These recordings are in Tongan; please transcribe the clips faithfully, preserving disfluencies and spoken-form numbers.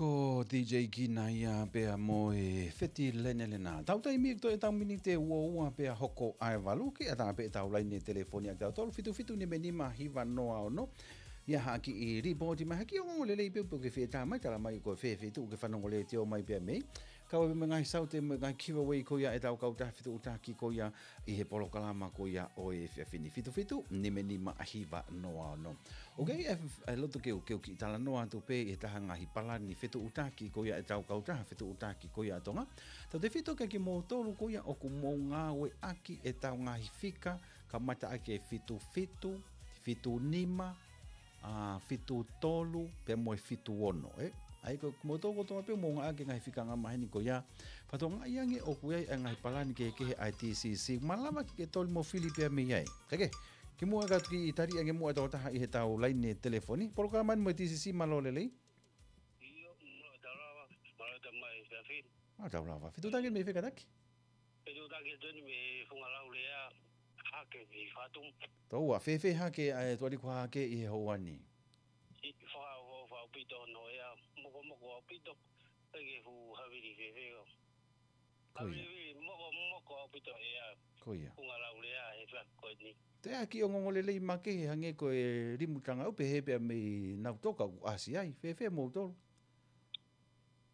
Ko DJ Kina ia pea mo e Feti Lenelena. Tau taimi ʻoku toe ʻetau miniti ʻe ua ua pea hoko ʻa e valu ke ʻatā pē ʻetau laine telefoni ʻa tautolu, fitu fitu nima nima hiva noa ono. ʻI ai ha kiʻi lipooti mai, ha kiʻi ongoongo lelei pē pe ʻoku ke fie tā mai, tala mai ko e fē feituʻu ʻoku ke fanongo letiō mai pea mei. Kau ai pē mo e ngaahi saute mo e ngaahi giveaway ko ia ʻetau kautaha fetuʻutaki ko ia ʻi he polokalama ko ia ʻo e efiafi ni, fitu fitu nima nima hiva noa ono. ʻOku ʻi ai e, e loto ke u, ke u kiʻi talanoa atu pē ʻi he taha ngaahi palani fetuʻutaki ko ia ʻetau kautaha fetuʻutaki ko ia ʻa Tonga. Tautefito kia kimoutolu ko ia ʻoku mou ngāueʻaki ʻetau ngaahi fika, kamata ʻaki e fitu fitu, fitu nima, ʻa, fitu tolu, pea mo e fitu ono, ē? ʻA ia ko kimoutolu kotoa pē ʻoku mou ngāueʻaki e ngaahi fika angamaheni ko ia, fakatokangaʻi ange ʻoku ʻi ai e ngaahi palani kehekehe ʻa e TCC, malava ke ke toli mo fili pea mei ai. Kae kehe, kimuʻa ka u kiʻi tali ange muʻa e tokotaha ʻi heʻetau laine telefoni. Polokalama ni mo e TCC, mālō e lelei. ʻIo, mālō e tau lava, mālō e tau mai, Fiafi. Mālō e tau lava. Fetuʻutaki mei fē kātaki? Fetuʻutaki atu eni mei Fungalaulea, Hake mei Fatumu. Tōua, fēfē Hake, ʻa e tuʻa liku Hake ʻi he houa ni? ʻIo, fakaʻofoʻofa ʻaupito hono ea, mokomoko ʻaupito, ʻikai ke fuʻu havili fēfē ʻo. Ko ia. Havili, mokomoko ʻaupito ʻea. Ko ia. Fungalaulea he fea ko eni. Toe ʻi ai ha kiʻi ongoongo lelei makehe hangē ko e limu tangaʻau pehē pea mei Nautoka ʻoku ʻasi ai, fēfē moutolu?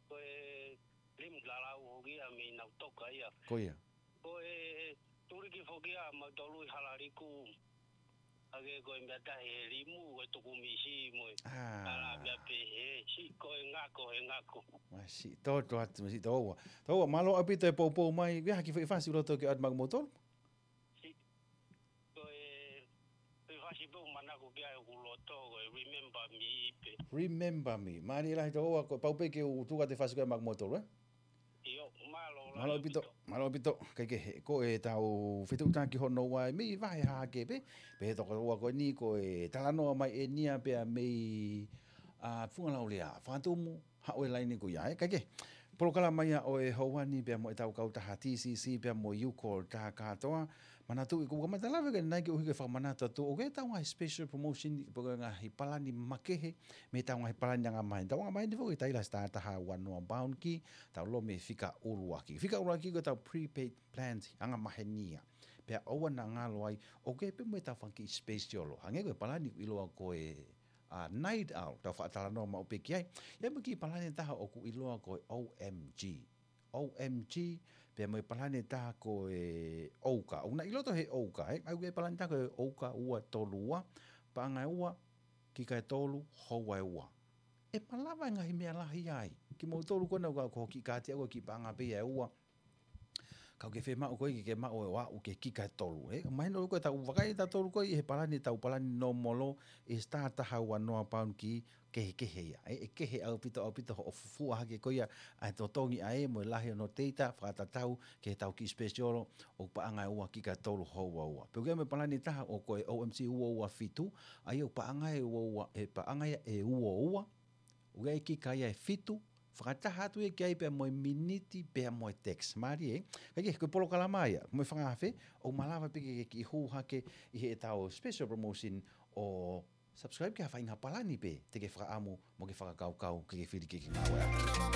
Ko e limu lalau hoki ia mei Nautoka ia. Ko ia. Ko e tuliki foki ia mautolu ʻi Halaliku. Hake ko e meʻa tahi he limu, ko e tukumisi mo e. Ah. Ala meʻa pehē, siʻi ko e ngako, he ngako. Masiʻi, tō, tō atu, masiʻi, tōua. Tōua, mālō ʻaupito e poupou mai, ʻi ai ha kiʻi foʻi fasi ʻoku loto ke ʻoatu maʻa kimoutolu? Siʻi, ko e, ko e fasi pē ʻoku manako ki ai ʻoku loto, ko e Remember Me pē. Remember Me. Mālie lahi tōua, ko e pau pē ke u tuku atu e fasi ko ia maʻa kimoutolu, ē? ʻIo, mālō lahi ʻaupito. Mālō ʻaupito, mālō ʻaupito. Kae kehe, ko ʻetau fetuʻutaki hono ua ʻi he vahe Hake pē, pehē tokoua ko eni ko e talanoa mai ʻeni ia pea mei, ʻa, Fungalaulea, Fatumu, haʻu e laine ko ia, ē, kae kehe. Polokalama ia ʻo e houa ni pea mo ʻetau kautaha TCC pea mo e U Call Takatoa. Manatuʻi ʻoku kamata lave ki ai ʻanenai koeʻuhi ke fakamanatu atu ʻoku ʻi ai ʻetau ngaahi special promotion, pe ko e ngaahi palani makehe mei heʻetau ngaahi palani angamaheni. Tau angamaheni foki ʻi he taila star taha ua noa pound key, tau ʻilo mei he fika ʻuluaki. Fika ʻuluaki ko ʻetau prepaid plans angamaheni ia. Pea ʻoua naʻa ngalo ai, ʻoku ʻi ai pē mo ʻetau fanga kiʻi special. Hangē ko e palani ʻoku ʻiloa ko e, ʻa, Night Owl, tau faʻa talanoa maʻu pē ki ai. ʻI ai mo e kiʻi palani ʻe taha ʻoku ʻiloa ko e OMG. OMG, pea mo e palani ʻe taha ko e Ouka. ʻOku na ʻi loto he Ouka, ē? ʻA ia ko e palani ʻe taha ko e Ouka ua tolu ua, paʻanga ʻe ua, kika ʻe tolu, houa ʻe ua. ʻE malava e ngaahi meʻa lahi ai. Kimoutolu ko ena ʻoku ʻi ai ko e kiʻi kaati ʻoku ʻi ai e kiʻi paʻanga pē ia ʻe ua. Ka ʻoku ke fiemaʻu koe ke ke maʻu ʻo aʻu ki he kika ʻe tolu, ē? Mahino ko ʻetau vakai ʻe tautolu ko ē ʻi he palani, ʻetau palani normal, ʻi he star taha ua noa pound key, kehekehe ia. ʻE, ʻe kehe ʻaupito, ʻaupito hoʻo fufū hake ko ia ʻa e totongi ʻa e mo e lahi hono data, fakatatau ki heʻetau kiʻi special, ʻoku paʻanga ʻe ua kika ʻe tolu houa ʻe ua. Pea ʻoku ʻi ai mo e palani ʻe taha ʻoku ko e OMG ua ua fitu, ʻa ia ʻoku paʻanga ʻe ua ua, ʻe paʻanga ia ʻe ua ua, ʻoku ʻi ai e kika ia ʻe fitu, fakataha atu ia ki ai pea mo e miniti pea mo e text. Mālie, ē? Kae kehe, ko e polokalama ia, mo e fanga afe, ʻoku malava pē ke ke kiʻi hū hake ʻi heʻetau special promotion ʻo subscribe ki ha faʻahinga palani pē te ke fakaʻamu mo ke fakakaukau ke ke fili ke ke ngāueʻaki.